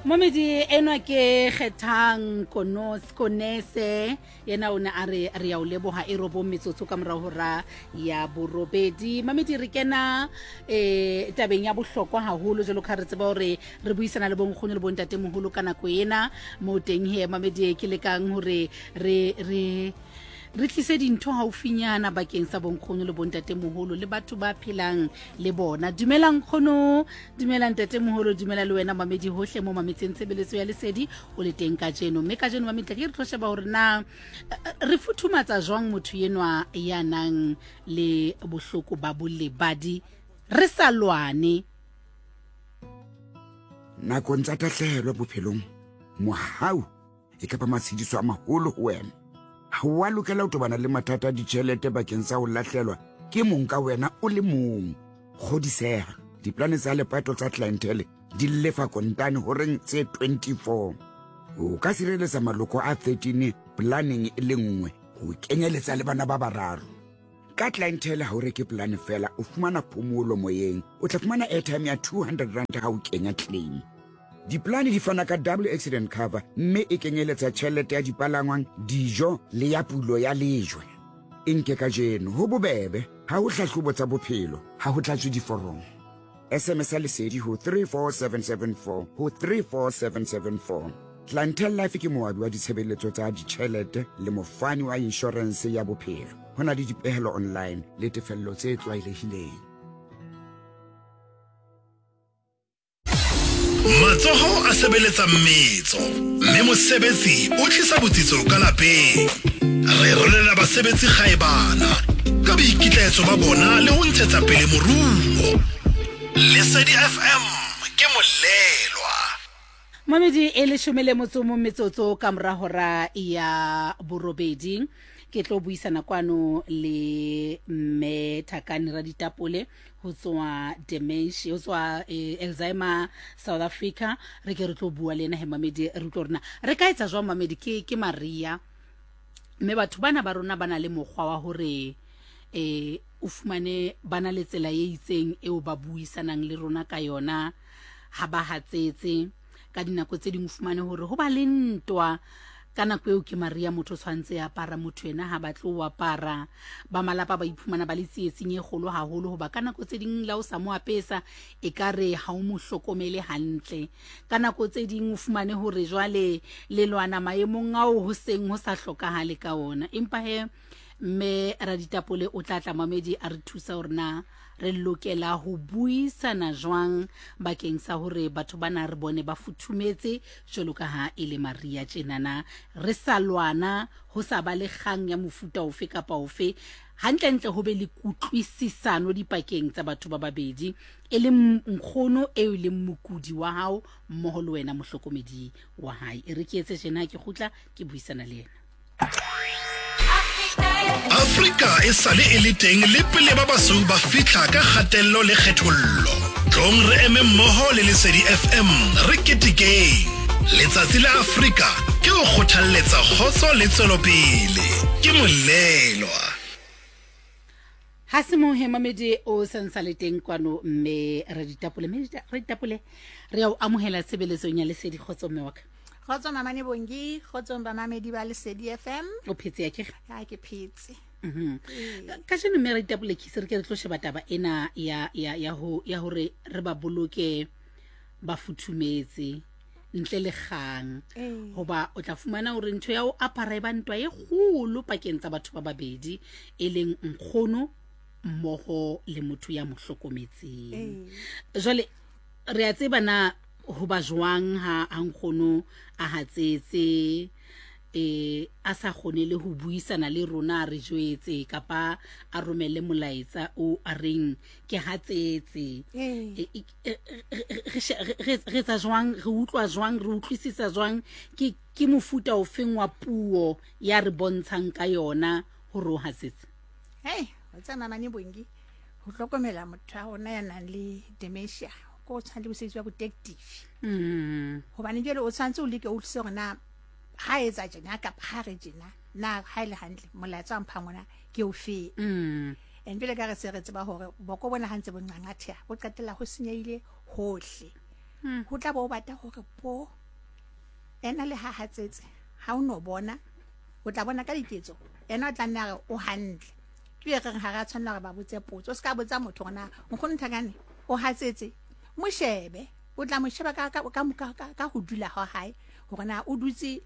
Momedi enwa ke Kgethang Konos Konese yena o ne a re re ya o leboga e robong metsotso ka morago hora ya borobedi. Mamedi re kena eh tabeng ya bohlokwa haholo jalo ka re tseba hore re buisana le bonkgono le bontatemoholo ka nako ena mo teng he mamedi ke lekang hore re re re tlise dintho haufinyana bakeng sa bonkgono le bontatemoholo le batho ba phelang le bona. Dumela nkgono, dumela ntatemoholo, dumela le wena mamedi hohle mo mametseng tshebeletso ya lesedi o le teng kajeno. Mme kajeno mamedi tla ke re tlo sheba hore na re futhumatsa jwang motho enwa ya nang le bohloko ba bolebadi re sa lwane. Nakong tsa tahlehelo bophelong, mohau e ka ba matshediso a maholo ho wena. Ha o a lokela ho tobana le mathata a ditjhelete bakeng sa ho lahlelwa ke mong ka wena o le mong. Kgodiseha, diplane tsa lepato tsa Clientele di lefa kontane horeng tse 24. O ka sireletsa maloko a 13 planeng e le nngwe ho kenyeletsa le bana ba bararo. Ka Clientele ha o reke polane fela, o fumana phomolo moyeng. O tla fumana airtime ya 200 rand ha o kenya claim. Diplane di fana ka double accident cover mme e kenyeletsa tjhelete ya dipalangwang, dijo le ya pulo ya lejwe. E nke kajeno, ho bobebe, ha ho hlahlobo tsa bophelo, ha ho tlatswe diforomo. SMS ya Lesedi ho 34774 ho 34774. Clientele Life ke moabi wa ditshebeletso tsa ditjhelete le mofani wa inshorense ya bophelo. Ho na le dipehelo online le tefello tse tlwaelehileng. Matsoho a sebeletsa mmetso, mme mosebetsi o tlisa botsitso ka lapeng. Re rolela basebetsi kgaebana ka boikitlaetso ba bona le ho ntshetsa pele moruo. Lesedi FM ke molelwa. Mamedi e leshome le motso mo metsotso ka mora hora ya borobedi ke tlo buisana kwano le mme Thakani Raditapole ho tswa dementia ho tswa eh, Alzheimer South Africa re ke re tlo bua le ena he mamedi re utlwe rona re ka etsa jwang mamedi ke ke Maria mme batho bana ba rona ba na le mokgwa wa hore eh o fumane ba na le tsela e itseng eo ba buisanang le rona ka yona ha ba hatsetse ka dinako tse ding o fumane hore ho ba le ntwa ka nako eo ke maria motho o tshwanetse a apara motho ena ha batle o apara ba malapa ba iphumana ba le tsietsing e kgolo haholo hoba ka nako tse ding la o sa mo apesa e ka re ha o mo hlokomele hantle ka nako tse ding o fumane hore jwale le lwana maemong ao ho seng ho sa hlokahale ka ona empa he mme raditapole o tla tla mamedi a re thusa hore na Re lokela ho buisana jwang bakeng sa hore batho bana re bone ba futhumetse jwalo ka ha e le Maria tjenana, re sa lwana, ho sa ba le kgang ya mofuta ofe kapa ofe, hantlentle ho be le kutlwisisano dipakeng tsa batho ba babedi, e leng nkgono eo e leng mokudi wa hao mmoho le wena mohlokomedi wa hae. E re ke etse tjena ha ke kgutla ke buisana le yena. Afrika e sale e le teng le pele ba basweu ba fihla ka kgatello le kgethollo. Tlong re eme mmoho le Lesedi FM re ketekeng. Letsatsi la Afrika ke ho kgothalletsa kgotso le tswelopele. Ke molelwa. Ha se mohe mamedi o santsa le teng kwano mme Raditapole mme Raditapole re ya o amohela tshebeletsong ya Lesedi kgotso mme wa ka. Kgotso Mamane Bongi, kgotsong bamamedi ba Lesedi FM. O phetse ya kere? Ya ke phetse. Mhm. Ka jeno mme Raditapole ke se re ke re tlo sheba taba ena ya ya ya ho ya hore re ba boloke ba futhumetse ntle le kgang hoba o tla fumana hore ntho ya ho apara e ba ntwa e kgolo pakeng tsa batho ba babedi e leng nkgono mmoho le motho ya mo hlokometseng. Jwale re a tseba na ho ba jwang ha ha nkgono a hatsetse eh a sa kgone le ho buisana le rona a re jwetse kapa a romele molaetsa o a reng ke hatsetse e, e, e, re etsa jwang re utlwa jwang re utlwisisa jwang ke ke mofuta ofeng wa puo ya re bontshang ka yona hore o hatsetse hei o tsa mamane bongi ho hlokomela motho wa rona ya nang le dementia ko o tshwana le mosebetsi wa botective hobane jwale o tshwanetse o leke o utlwise hore na ha etsa tjena kapa ha re tjena na ha e le hantle molaetsa wa mphang ona ke o feng and jwale ka re se re tseba hore boko bona ha ntse bo nqanqatheha bo qetella ho senyehile hohle. Ho tla bo o bata hore po ena le ha hatsetse ha o no bona, o tla bona ka diketso, ena o tla nna a re o hantle. Ke e reng ha re a tshwanela hore ba botse potso. O se ka botsa motho hore na nkgono Nthakane o hatsetse, mo shebe, o tla mo sheba ka, ka, ka, ka, ka, ka ho dula ha hae hore na o dutse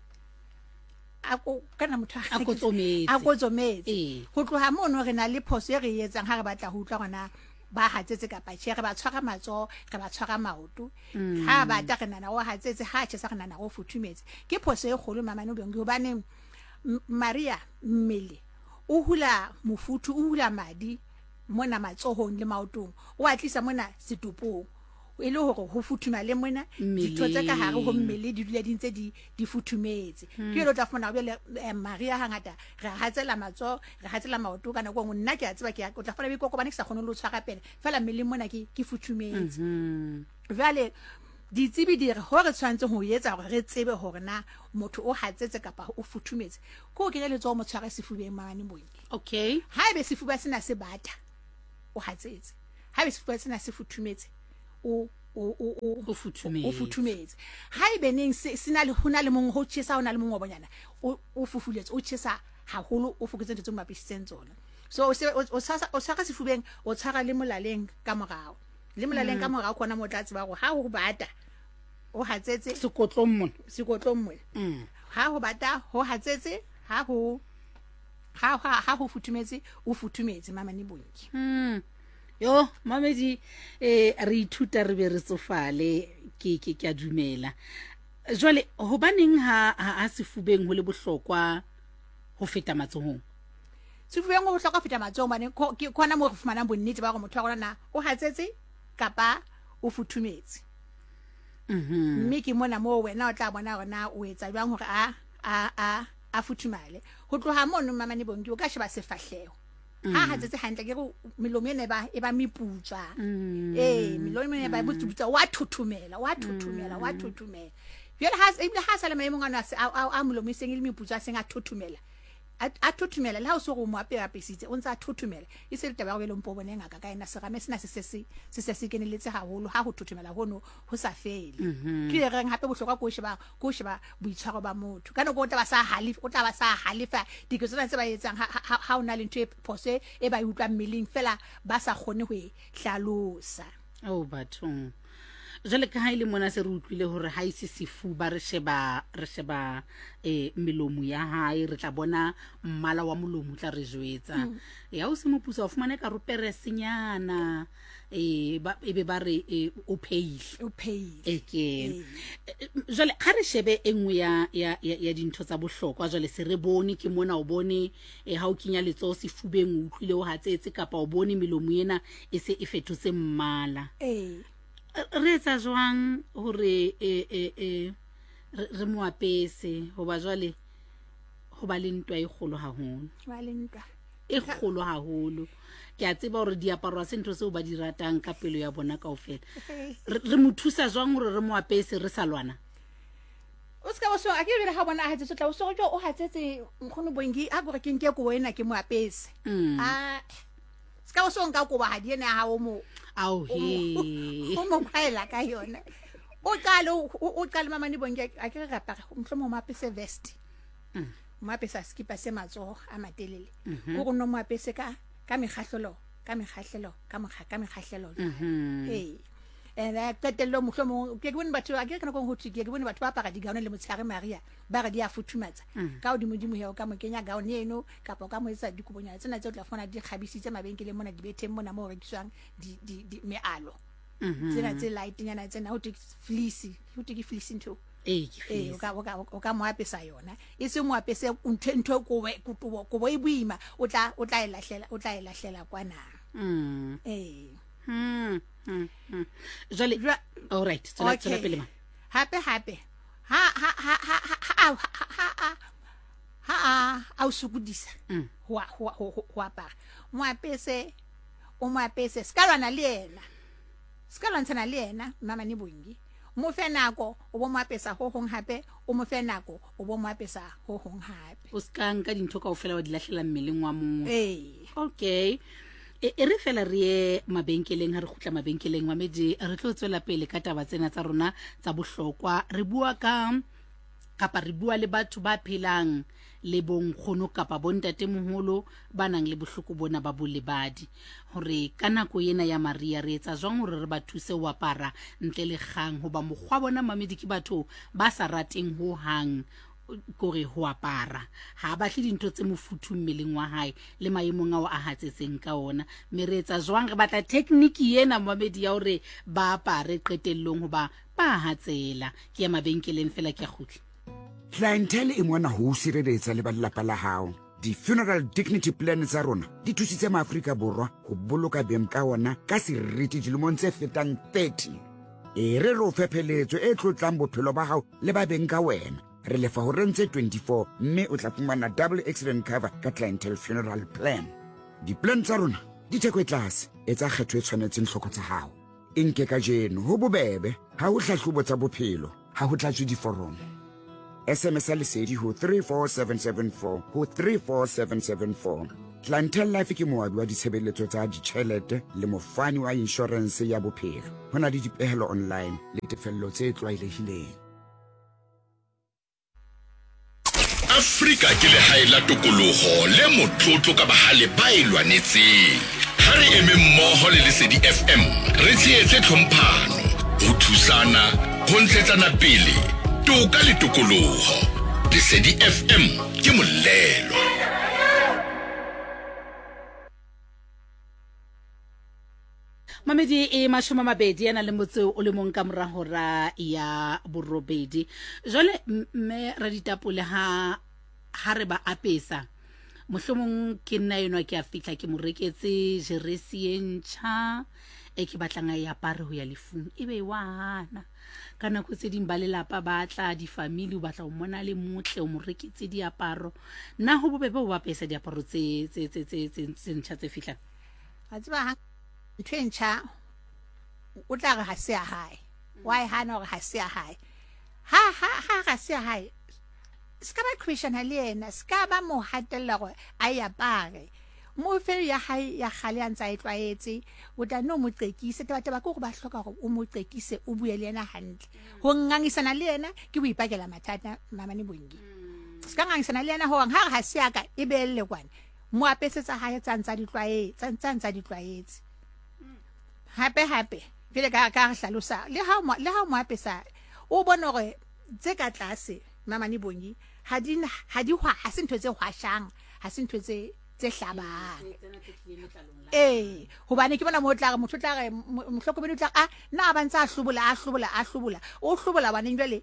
a ko kana motho A kotsometse. a kotsometse. Ee. Ho tloha mono re na le phoso e re e etsang ha re batla ho utlwa hore na ba hatsetse kapa tjhe, re ba tshwara matsoho, re ba tshwara maoto. Ha bata re nahana o hatsetse, ha tjhesa re nahana o futhumetse. Ke phoso e kgolo mamane Bongi, hobane Maria mmele o hula mofuthu, o hula madi mona matsohong le maotong, o a tlisa mona setopong e le hore ho futhumale mona, ditho tse ka hare ho mmele di dule di ntse di futhumetse. Ke jwale o tla fumana jwale, Maria hangata re hatsela matsoho, re hatsela maoto ka nako e nngwe. Nna ke a tseba, ke a, o tla fumana boikokobane ke sa kgone le ho tshwara pele, fela mmeleng mona ke futhumetse. Jwale ditsebi di re ho re tshwanetse ho etsa hore re tsebe hore na motho o hatsetse kapa o futhumetse, ke ho kenya letsoho mo tshware sefubeng mane Bongi. Haebe sefuba sena se bata, o hatsetse. Haebe sefuba sena se futhumetse, O futhumetse. o futhumetse. Haebe neng se, se na le, ho na le mong ho tjhesa, ho na le mongobonyana, o fufuletse, o tjhesa haholo, o fokotse ntho tse mo apisitseng tsona. So o se, o, o tshwasa, o tshwara sefubeng, o tshwara le molaleng ka morao. Le molaleng ka morao kona mo tla tseba hore ha ho bata, o hatsetse. Sekotlong mona. Sekotlong mona. Ha ho bata, ho hatsetse, ha ho, ha, ha, ha ho futhumetse, o futhumetse, mamane Bongi. Yo, mamedi, re ithuta re be re tsofale, ke a dumela. Jwale, hobaneng ha sefubeng ho le bohlokwa ho feta matsohong? Sefubeng ho bohlokwa ho feta matsohong hobane ke khona moo re fumanang bonnete ba hore motho wa rona na o hatsetse kapa o futhumetse. Mme ke mona moo wena o tla bona hore na o etsa jwang hore a futhumale. Ho tloha mono mamane Bongi, o ka sheba sefahleho. Ha hatsetse hantle, ke re melomo ena e ba meputswa. Ee, melomo ena e ba meputswa, wa thothomela, wa thothomela, wa thothomela. Jwale ha, ebile ha sa le maemong ano a molomo e seng e le meputswa, a seng a thothomela. A thothomela, le ha o se hore o mo apesitse, o ntse a thothomela. E se le taba ya hore jwale o mpo o bone ngaka ka ena, serame sena se se se, se se se keneletse haholo, ha ho thothomela hono ho sa fele. Ke e reng hape bohlokwa ke ho sheba, ke ho sheba boitshwaro ba motho. Ka nako o tla ba sa halefa, o tla ba sa halefa diketso tsena tse ba etsang ha o na le ntho e phoso e ba e utlwang mmeleng fela ba sa kgone ho e hlalosa. Oh, bathong. Jwale ka ha e le mona se re utlwile hore ha e se sefuba, re sheba, re sheba, melomo ya hae, re tla bona mmala wa molomo o tla re jwetsa. Ya o se moputso, wa fumana ka roperesenyana, e be ba re, o pheile. O pheile. E ke. Jwale ha re shebe e nngwe ya dintho tsa bohlokwa, jwale se re bone ke mona, o bone, ha o kenya letsoho sefubeng o utlwile o hatsetse, kapa o bone melomo ena e se e fetotse mmala. Re etsa jwang hore, re mo apese, hoba jwale ho ba le ntwa e kgolo haholo. Ba le ntwa. E kgolo haholo. Ke a tseba hore diaparo ha se ntho tseo ba di ratang ka pelo ya bona kaofela. Re mo thusa jwang hore re mo apese re sa lwana? O ska o so, a ke bele ha bona a hatsetse, o tla o so jo o hatsetse nkgono Bongi, a gore ke nke kobo ena ke mo apese. A ska o so nka kobo ha di ena ya hao mo. Ao he. O mo kwaela ka yona. O qale, o qale mamane Bongi, a ke re apara, mohlomong o mo apese vest. O mo apesa skipa se matsoho a matelele. Ko go no mo apese ka mekgahlelo, ka mekgahlelo, ka mokga, ka mekgahlelo. Ee. And qetello mohlomong, ke bone batho, a ke re ka nako e nngwe ho thwe, ke bone batho ba apara digaone le motshehare Maria, ba re di a futhumatsa. Ka hodimodimo he, o ka mo kenya gown eno, kapa o ka mo etsa dikobonyana tsena tse o tla fumana di kgabisitse mabenkeleng mona, dibetheng mona moo ho rekiswang mealo. Tsena tse lightnyana tsena, ho thwe ke fleece, ho thwe ke fleece ntho eo. Ee, ke Ee, fleece. o ka mo apesa yona. E se mo apese ntho kobo e boima, o tla e lahlela, o tla e lahlela kwana. Ee. Jwale, all right, tswela pele ma. Hape, hape. Ha, ha, ha, ha, ha, ha, ha, ha, ha, ha, ha, a o sokodisa ho apara. Mo apese, o mo apese, se ka lwana le yena. Se ka lwantshana le yena, Mmamane Bongi. Mo fe nako, o bo mo apesa ho hong hape, o mo fe nako, o bo mo apesa ho hong hape. O se ka nka dintho kaofela wa di lahlela mmeleng wa motho. Ee. Okay. E, e re fela re ye mabenkeleng, ha re kgutla mabenkeleng mamedi re tlo tswela pele ka taba tsena tsa rona tsa bohlokwa. Re bua ka kapa re bua le batho ba phelang le bonkgono kapa bontatemoholo ba nang le bohloko bona ba bolebadi, hore ka nako ena ya Maria re etsa jwang hore re ba thuse ho apara ntle le kgang, hoba mokgwa bona mamedi ke batho ba sa rateng ho hang kore ho apara, ha a batle dintho tse mofuthu mmeleng wa hae le maemong ao a hatsetseng ka ona. Mme re etsa jwang? Re batla tekniki ena mamedi ya hore ba apare qetellong, hoba ba hatsela. Ke ya mabenkeleng fela, ke a kgutla. Clientele e mona ho o sireletsa le ba lelapa la hao. Di-funeral dignity plan tsa rona di thusitse Maafrika Borwa ho boloka beng ka ona ka seriti dilemong tse fetang 30. E re re o fe pheletso e tlotlang bophelo ba hao le ba beng ka wena. Re lefa horeng tse 24 mme o tla fumana double accident cover ka Clientele Funeral Plan. Di-plan tsa rona di theko e tlase, etsa kgetho e tshwanetseng tlhoko tsa hao. E nke kajeno, ho bobebe, ha ho hlahlobo tsa bophelo, ha ho tlatswe diforomo. SMS ya Lesedi ho 34774 ho 34774. Clientele Life ke moabi wa ditshebeletso tsa ditjhelete le mofani wa inshorense ya bophelo. Ho na le dipehelo online le tefello tse tlwaelehileng. Afrika ke lehae la tokologo le motlotlo ka bahale ba e lwanetseng. Ha re eme mmoho le Lesedi FM re tshehetse tlhomphano, ho thusana, ho ntshetsana pele, toka le tokoloho. Lesedi FM ke molelo. Mamedi e 20 a na le motse o le mong ka mora hora ya borobedi. Jwale mme Raditapole, ha ha re ba apesa, mohlomong ke nna enwa ke a fihla ke mo reketse jeresi e ntjha e ke batlang a e apare ho ya lefung, ebe e wa hana. Ka nako tse ding ba lelapa ba tla, difamili, o batla ho mona le motle, o mo reketse diaparo. Na ho bobebe ho ba apesa diaparo tse tse tse tse tse ntjha tse fihlang? A tseba ha ntho e ntjha o tla re ha se ya hae, wa e hana hore ha se ya hae. Ha ha ha ga se ya hae, se ka ba qhweshana le yena, se ka ba mo hatella gore a e apare. Mo fe ya hae ya kgale a ntse a e tlwaetse, o tla nne o mo qekise. Tabataba ke gore ba hloka gore o mo qekise, o bue le yena hantle. Ho ngangisana le yena ke ho ipakela mathata, mamane Bongi. Se ka ngangisana le yena hoang ha re ha se ya ka e beelle kwana. Mo apese tsa hae tsa ntsa di tlwaetse, tsa ntsa di tlwaetse. Hape hape jwale ka ka re hlalosa le ha le ha mo apesa o bone hore tse ka tlase mamane Bongi ha di ha di ha se ntho tse hwashang, ha se ntho tse tse hlabang. Ee, hobane ke bona mo tla re motho tla re mohlokomedi o tla a na ba ntsa a hlobola a hlobola a hlobola o hlobola baneng jwale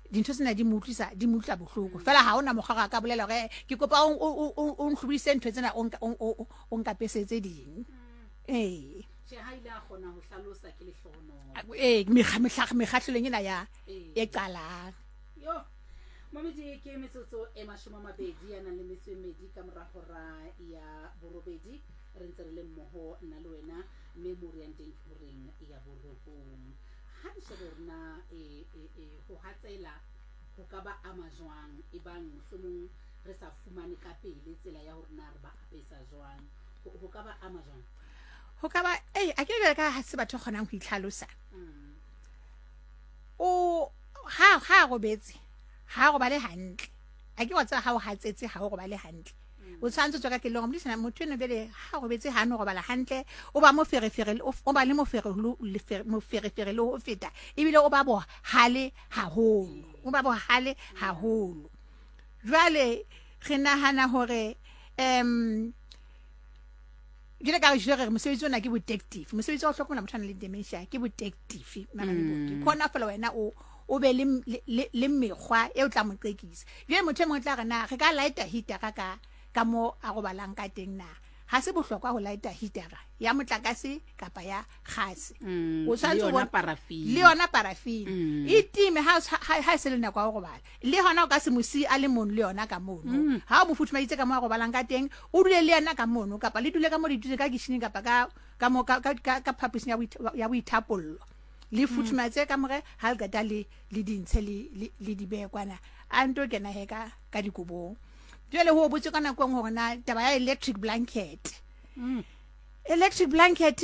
dintho tsena di mo utlwisa di mo utlwa bohloko fela ha ona mokgwa ga ka bolela gore ke kopa o ntlhobodise ntho tsena o nkapesetse ding. Ee, ee, mekgahlelong ena ya e qalang. Mamedi ke metsotso e 20 a nang le metso e medi ka mora hora ya borobedi. Re ntse re le mmoho nna le wena, mme mo re yang teng ke horeng ya borobong. Ha re shebe hore na e, e, e, ho hatsela ho ka ba ama jwang, ebang mohlomong re sa fumane ka pele tsela ya hore na re ba apesa jwang. Ho, ho ka ba ama jwang? Ho ka ba, ei, a ke jwale ka ha se batho kgonang ho itlhalosa. O, ha, ha a robetse, ha a robale hantle. A ke wa tseba ha o hatsetse ha o robale hantle. O tshwanetse o tswa ka kelellong modisana motho eno jwale ha robetse ha no robala hantle, o ba moferefere, o ba le moferefere le ho feta, ebile o ba bohale haholo, o ba bohale haholo. Jwale re nahana hore jwale ka re jwale re mosebetsi ona ke detective, mosebetsi wa ho hlokomela motho a nang le dementia ke detective. Ke khona fela wena o o be le le mekgwa e o tla mo qekisa. Jwale motho e mongwe tla re na re ka lighta heatera ka ka mo a robalang ka teng, na ha se bohlokwa ho lighta heatera ya motlakase kapa ya gase? O tshwanetse le yona parafini e time ha ha e se le nako ya ho robala. Le hona o ka se mo siye a le mong le yona ka mono. Ha o mo futhumaditse ka mo a robalang ka teng, o dule le yena ka mono, kapa le dule ka mo le dutse ka kitchening kapa ka ka mo ka ka ka phaposing ya ya boithapollo. Le futhumatse ka more ha le qeta le le dintshe le le di behe kwana, a nto kena he ka ka dikobong. Jwale ho botse ka nako e nngwe hore na taba ya electric blanket. Electric blanket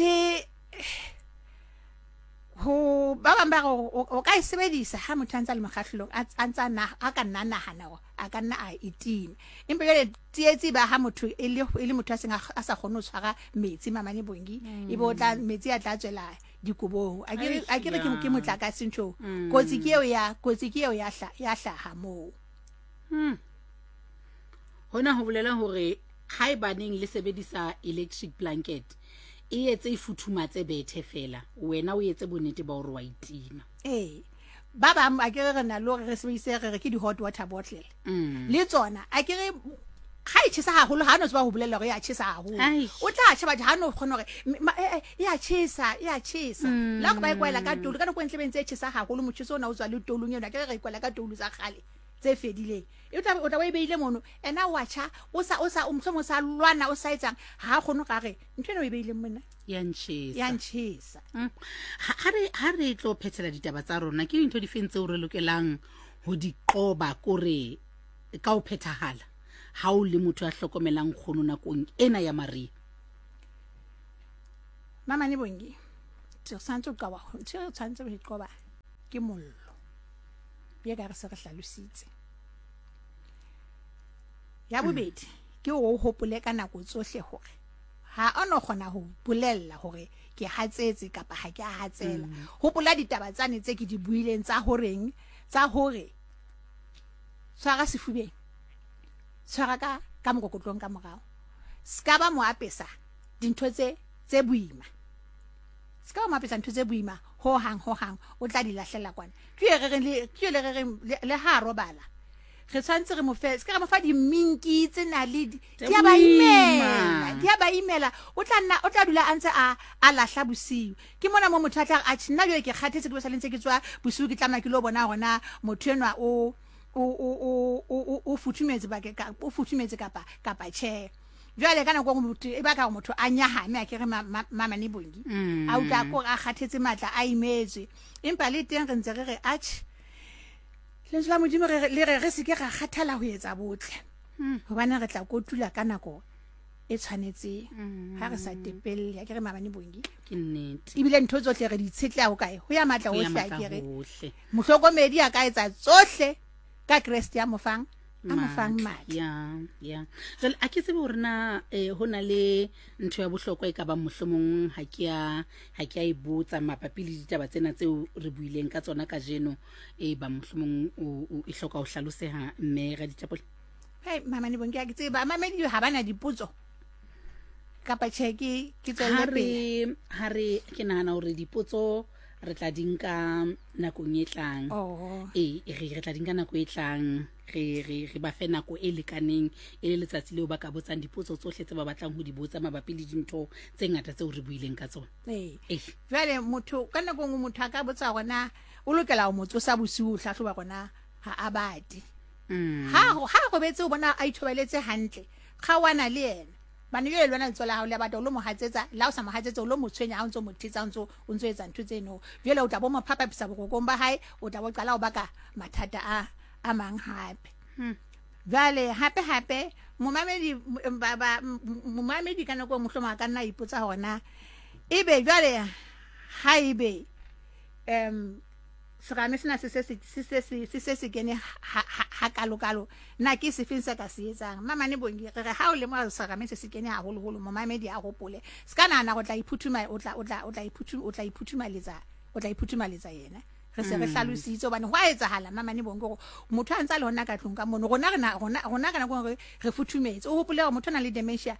ho ba bang ba re o ka e sebedisa ha motho a ntse a le mokgahlelong a ntse a ka nna nahana hore a ka nna a e tima. Empa jwale tsietsi ba ha motho e le e le motho a seng a sa kgone ho tshwara metsi mamane bongi e be o tla metsi a tla tswela dikobong. A ke a ke re ke motlakase ntho. Kotsi ke eo ya kotsi ke eo ya ya hlaha moo. Hona ho bolela hore haebaneng le sebedisa electric blanket e etse e futhumatse bethe fela wena o etse bonnete ba hore wa itima. Ee, ba bang a ke re na le hore re sebedise re re ke di-hot water bottle mm. le tsona a ke re ga e chesa haholo ga no tseba go bolelela gore e a chesa haholo o tla tšha batho ga no kgona gore eh, eh, e a chesa e a chesa mm. la go ba e kwaela ka tolu ka nako e ntle bentse e chesa haholo motšheso o na o tswa le tolung eno a ke re re e kwaela ka tolu tsa kgale tse fedileng e tla o tla o e beile mono ena wa tjha o sa o sa o mohlomong o sa lwana o sa etsang ha a kgone ga re ntho ena o e beileng mona ya ntjhesa ya ntjhesa mm. ha re ha re tlo phethela ditaba tsa rona ke dintho di feng tseo re lokelang ho di qoba kore ka ho phethahala ha o le motho ya hlokomelang kgono nakong ena ya mariha mama ne bongi tse tshwanetse o qoba ntho e tshwanetse ho e qoba ke mollo ye ka re se re hlalositse ya bobedi ke o hopole ka nako tsohle hore ha o no kgona ho bolella hore ke hatsetse kapa ha ke a hatsela mm. hopola ditaba tsane tse ke di buileng tsa horeng tsa hore tshwara sefubeng tshwara ka ka mokokotlong ka morao ska ba mo apesa dintho tse tse boima se ka ba mo apesa ntho tse boima ho hang ho hang o tla di lahlela kwana ke ye re reng le ke le re reng le ha robala re tshwanetse re mo fe se ka re mo fa diminki tse na le di a ba imela di a ba imela o tla nna o tla dula a ntse a a lahla bosiu ke mona mo motho a tla a nna jale ke kgathetse ke be sa le ntse ke tswa bosiu ke tlamela ke lo bona gona motho enwa o o o o o futhumetse ba ka o futhumetse kapa kapa tjhe jwale ka nako motho e baka gore motho a nyahame a kere mamane bongi mm. a utlwa kore a kgathetse matla a imetswe empa le teng re ntse re re atjhe lentswe la modimo le re re seke ra kgathala ho etsa botle mm. gobane re tla kotula ka nako e tshwanetseng mm. ha re sa tepelle a kere mabane bongi ebile ntho tsotlhe re di tshetleha go kae go ya matla otlhe a kere mohlokomedi a ka etsa tsohle ka kreste ya mofang a mo fang matla ya ya jwale a ke tsebe gore na eh, ho na le ntho ya bohlokwa e ka bang mohlomong ha ke a ha ke a e botsa mabapi le ditaba tsena tseo re buileng ka tsona kajeno e ba mohlomong o e hloka ho hlaloseha mme Raditapole hey mama ne bonke ke tseba mamedi ha bana dipotso kapa tjhe ke ke tswelle pele ha re ke nahana hore dipotso re tla di nka nakong e tlang oh. ee re re tla di nka nako e tlang re re re ba fe nako e lekaneng e le letsatsi leo ba ka botsang dipotso tsohle tse ba batlang ho di botsa mabapi le dintho tse ngata tseo re buileng ka tsona ee jale motho ka nako nngwe motho a ka botsa gona o lokela go mo tsosa bosiu o tlhatlhoba gona ga a bate mm. ha ha robetse o bona a ithobaletse hantle kgaoana le ena Bane jwale le wena letsoho la hao le a bata o lo mo hatsetsa, le ha o sa mo hatsetse o lo mo tshwenya ha o ntso mo thetsa o ntso o ntso etsa ntho tseno. Jwale o tla bo mo phaphaphisa borokong ba hae, o tla bo qala o baka mathata a a mang hape. Hmm. Jwale hape hape momamedi ba ba momamedi ka nako e mohlomong a ka nna a ipotsa hore na ebe jwale ha ebe um serame sena se se se se se se se kene ha kalo kalo na ke sefeng se ka se etsang mamane bongi re re ha o lemoha serame se se kene haholoholo momamedi a hopole se ka nahana go tla iphuthuma o tla o tla o tla iphuthuma o tla iphuthumaletsa o tla iphuthumaletsa yena re se re mm. hlalositse hobane go a etsahala mamane bongi gore motho a ntse a le gona ka tlong ka mono rona rena rona rona ka nako re re futhumetse o hopole gore motho o nang le dementia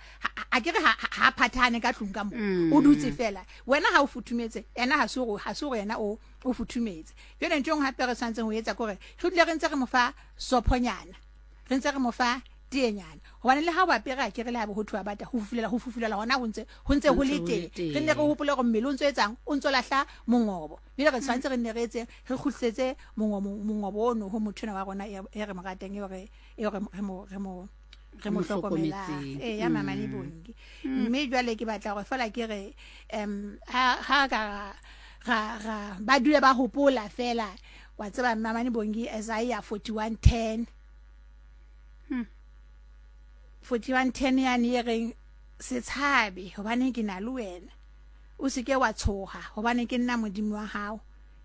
a ke re ha phathane ka tlong ka mo mm. o dutse fela wena ha o futhumetse ena ha se gore ha se gore yena o o futhumetse jale ntho e nngwe gape re tshwanetseng go etsa kore re dule re ntse re mo fa sophonyana re ntse re mo fa teenyana gobane le ga o apere a kere le gabe go thoa bata go fufulela go fufulela gona go ntse go ntse go le teng re nne re gopole gore mmele o ntse o etsang o ntse o latlha mongobo jale re tshwanetse re nne re etse re kgutlisetse mongobo ono go motho ena wa rona e, e re mo ratang e re e re mo re mo re mo hlokomelang ee ya mama le bongi mm. mme jwale ke batla gore fela ke re um ha ka ga ga ba dule ba hopola fela wa tseba mama ne bongi Isaiah 41:10 41:10 yani e reng Se tshabe, hobane ke na le wena. O se ke wa tshoha, hobane ke nna Modimo wa hao.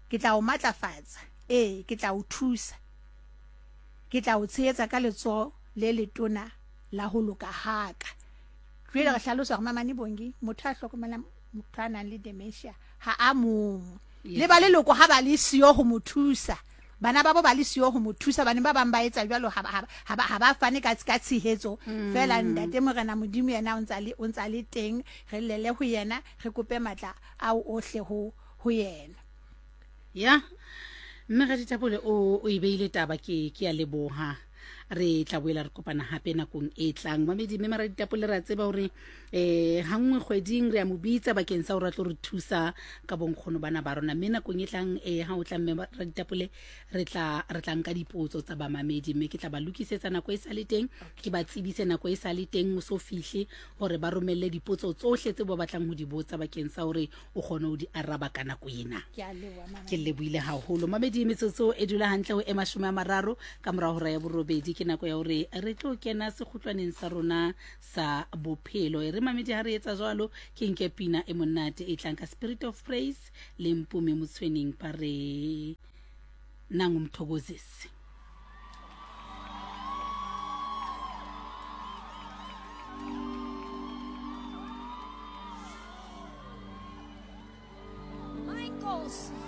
Ke tla o matlafatsa, ee, ke tla o thusa. Ke tla o tshehetsa ka letsoho le letona la ho loka ha ka. Jwale re hlalosa hore Mamane Bongi, motho a hlokomelang motho a nang le dementia ha a mong. Le ba leloko ha ba le siyo ho mo thusa, bana babo ba le siyo ho mo thusa, bane ba bang ba etsa jwalo ha ba, ha ba, ha ba fane ka, ka tshehetso. Feela Ntate Morena Modimo yena o ntsa le, o ntsa le teng, re llele ho yena, re kope matla ao ohle ho, ho yena. Ya, mme Raditapole o, o e beile taba, ke, ke a leboha. Re tla boela re kopana hape nakong e tlang. Mamedi, mme Maraditapole re a tseba hore eh ha nngwe kgweding re a mo bitsa bakeng sa hore a tlo re thusa ka bonkgono bana ba rona. Mme nakong e tlang eh ha o tla mme Raditapole re tla re tla nka dipotso tsa bamamedi mme ke tla ba lokisetsa nako e sa le teng, ke ba tsebise nako e sa le teng o so fihle hore ba romelle dipotso tsohle tse ba batlang ho di botsa bakeng sa hore o kgone ho di araba ka nako ena. Ke lebohile haholo mamedi. Metsotso e dula hantle ho e 30 ka morago hora ya borobedi, ke nako ya hore re tlo kena sekgutlwaneng sa rona sa bophelo. E re mamedi, ha re etsa jwalo ke nke pina e monate e tlang ka Spirit of Praise le Mpume Motshweneng, ba re nangumthokozisi. My Nkosi.